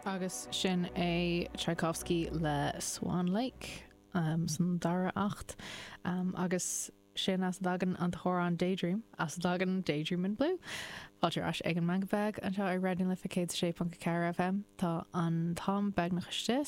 Agus sin é Tchaikovsky le Swan Lake san dara acht. Agus sin as a dtagann an t-amhrán Daydream, as a dtagann Daydream in Blue. Fáilte ar ais ag an Meangadh Beag anseo ar Raidió na Life 106.4 FM. Tá an t-am beagnach istigh.